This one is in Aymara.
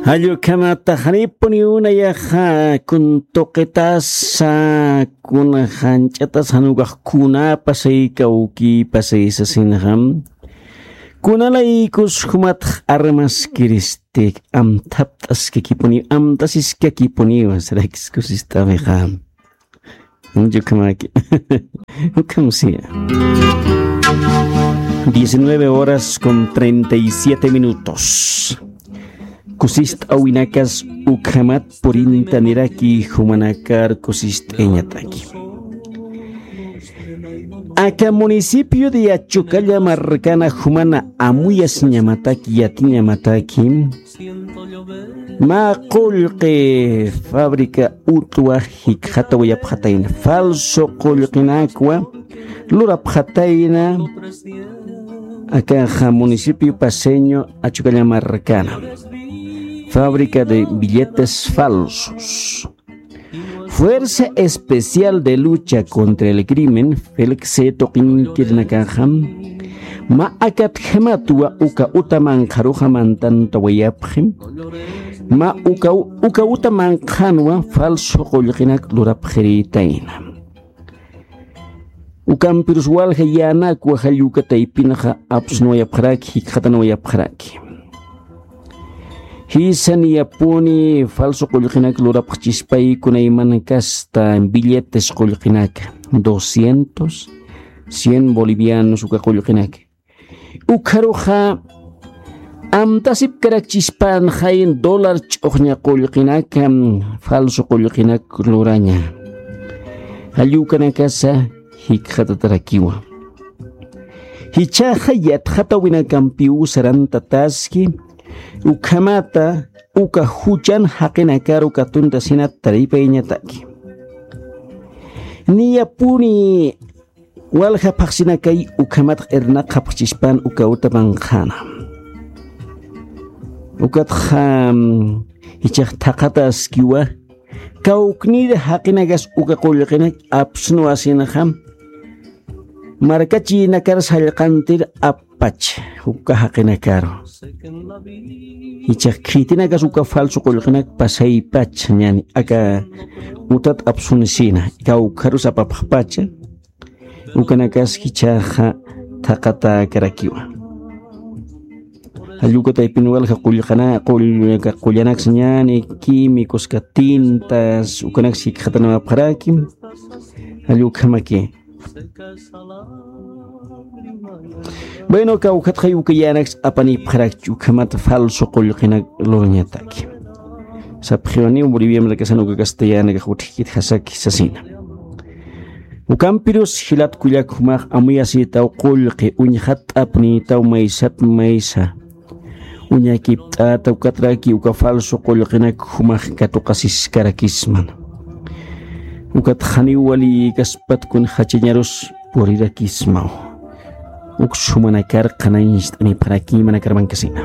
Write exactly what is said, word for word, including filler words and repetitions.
Allukhamata janipuniw nayaxa kun tuqitasa, kun janch'atasa, jan ukax kuna pasay kawki pasay sasinxa. Kunalaykus jumatx armaskiristi, amthapt'askakipuniw, amtasiskakipuniw, sarakis kusist'awixa. Yukhamaki. Ukham siya. Diecinueve horas con treinta y siete minutos. Kusist'awinakas ukhamat purintaniraki jumanakar kusist'ayañataki. Aka municipio de Achocalla markana jumana amuyasiñamataki, yatiñamataki. Mä qullqi fábrica utwa jikxatawayapxatayna, falso qullqinakwa lurapxatayna, akaxa municipio paceño Achocalla markana. Fábrica de billetes falsos. Fuerza Especial de Lucha contra el Crimen, FELCSE tuqinkirinakaxa, mä akatjamatwa uka uta manqharuxa mantantawayapxi, mä uka, uka uta manqhanwa falso qullqinak lurapxiritayna. Ukampirus walja yänakwa jall uka taypinxa apsunwayapxaraki, jikxatanwayapxaraki. Jisa niyapuni falso qullqinak lurapxchispay kunaymankasta billetes qullqinaka, doscientos, cien bolivianos uka qullqinaka. Ukharuxa amtasipkarakchispan jayin dólar ch'uxña qullqinaka, falso qullqinak luraña. Jall ukanakasa jikxatatarakiwa. Jichhaxa yatxatawinakampiw sarantataski, ukhamata uka juchan jaqinakaru katuntasinat taripayañataki. Niyapuni walja phaxsinakay ukhamat irnaqxapxchispan uka uta manqhana. Ukatxa, mm, jichhax thaqhataskiwa, kawknir jaqinakas uka qullqinak apsnuwasinxa, markachinakar sallqantir appacha uka jaqinakaru. Jichhax khitinakas uka falso qullqinak pasaypacha, ñani, aka utat apsunisina, kawkharus apapxpacha, ukanakas jichhaxa thaqhatäkarakiwa. Jall uka taypin walja qullqana-, qull-, qullanakas ñani, químicos, tintas, ukanaks jikxatanawapxaraki. Jall ukhamaki. Bueno, kawkhatxay uka yänaks apanipxarakchi ukhamat falso qullqinak lurañataki. Sapxiwaniw Boliviamrakasan uka castellanakax utjkitjasaki sasina. Ukampirus jilat kullak jumax amuyasïtaw qullqi uñjat apnïtaw maysat maysa. Uñakipt'ata ukatraki uka falso qullqinak jumax katuqasiskarakisman. Ukat janiw walïkaspat kun jachañarus purirakismaw. Uks jumanakar qhanañcht'anipxaraki, manakar mankasina.